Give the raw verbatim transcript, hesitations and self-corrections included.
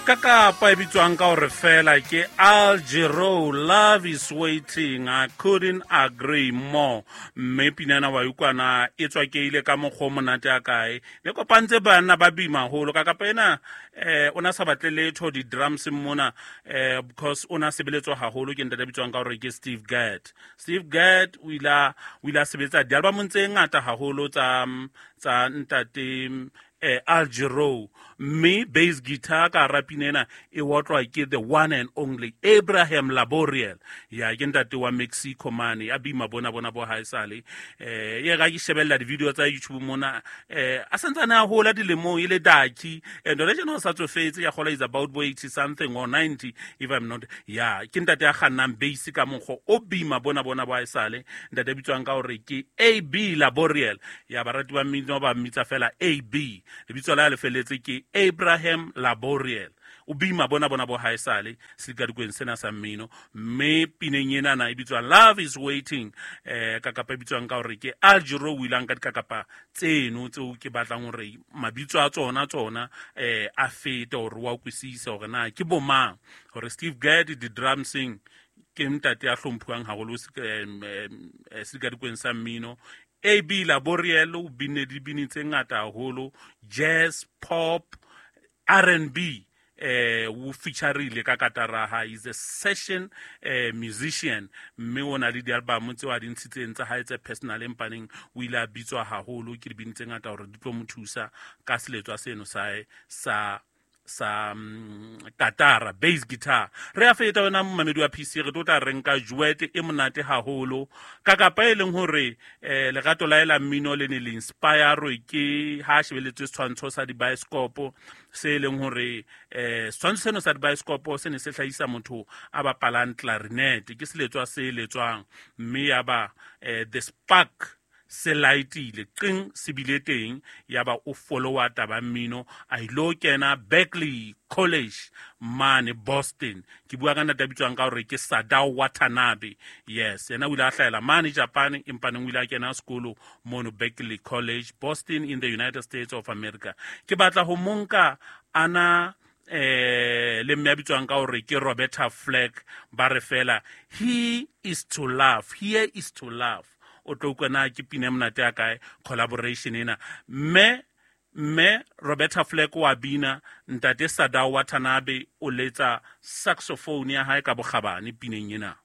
Kakapa e bitswang ka hore fela ke Al Jarreau, "Love Is Waiting". I couldn't agree more. Mme pinana wa utlwana e tswakeile ka mokgwa o monate a kae, le kopantse banna ba bima haholo. Kakapa ena eh o na sa batle letho di-drums mona, eh because o na sebeletswa haholo ke ntate a bitswang ka hore ke Steve Gadd. Steve Gadd o ile a o ile a sebetsa di-albumong tse ngata haholo tsa tsa ntate eh, Al Jarreau, mme bass guitar ka hara pina ena e otlwa ke the one and only Abraham Laboriel. Ya ke ntate wa Mexico mane a bima bona bona bo haesale. eh ye ga ke shebella di-video tsa YouTube mona, eh a santsane a hola dilemong e le daki, and hona tjena o sa tsofetse, ya gola is about bo eighty something or ninety, if I'm not. Ya ke ntate ya kgannang bass ka mokgwa o bima bona bona bo haesale, ntate a bitswang ka hore ke A B Laboriel. Ya barati ba mmino ba mmitsa fela A B, lebitso la le felletse ke Abraham Laboriel. O bima bona bona bo haesale sedikadikweng sena sa mmino, mme pineng enana e bitswa "Love Is Waiting", eh kakapa e bitswang ka hore ke Al Jarreau. O ilang ka dikakapa tseno tseo ke batlang hore mabitso a tsona tsona eh a fete hore wa utlwisise hore na ke bomang, hore Steve Gadd di-drumsing ke ntate a hlomphuwang haholo sedikadikweng sa mmino. A B Laboriel o binne dibini tse ngata haholo, jazz, pop, R and B, eh o featureile ka katara ha is a session eh, musician, mme o na le di-album tseo a di ntshitseng tsa hae tse personal, empaneng o ile a bitswa haholo ke dibini tse ngata hore di tlo mo thusa ka seletswa seno sa hae sa sa um, katara, bass guitar. Re a feta wena momamedi wa P C, re tlo tla re nka duet e monate haholo kakapa e leng hore eh lerato la ela mmino le ne le inspire ke ha shebeletse setshwantsho sa dibaeskopo se e leng hore eh setshwantsho seno sa dibaeskopo se ne se hlahisa motho a bapalang clarinet, ke seletswa se letswang, mme ya ba eh, the spark se lightile qing se bile teng, ya ba o followa taba mmino, a ilo kena Berklee College mane Boston. Ke bua ka ntate a bitswang ka hore ke Sadao Watanabe. Yes, yena o ile a hlahela mane Japan, empaneng o ile a kena sekolo mono Berklee College, Boston, in the United States of America. Ke batla ho monka ana eh le mme a bitswang ka hore ke Roberta Flack, ba re fela "He Is to Love", "Here Is to Love". O tlo utlwa na ke pina e monate ya kae collaboration ena. Mme mme Roberta Flack wa bina, ntate Sadao Watanabe o letsa saxophone ya hae ka bokgabane pineng ena.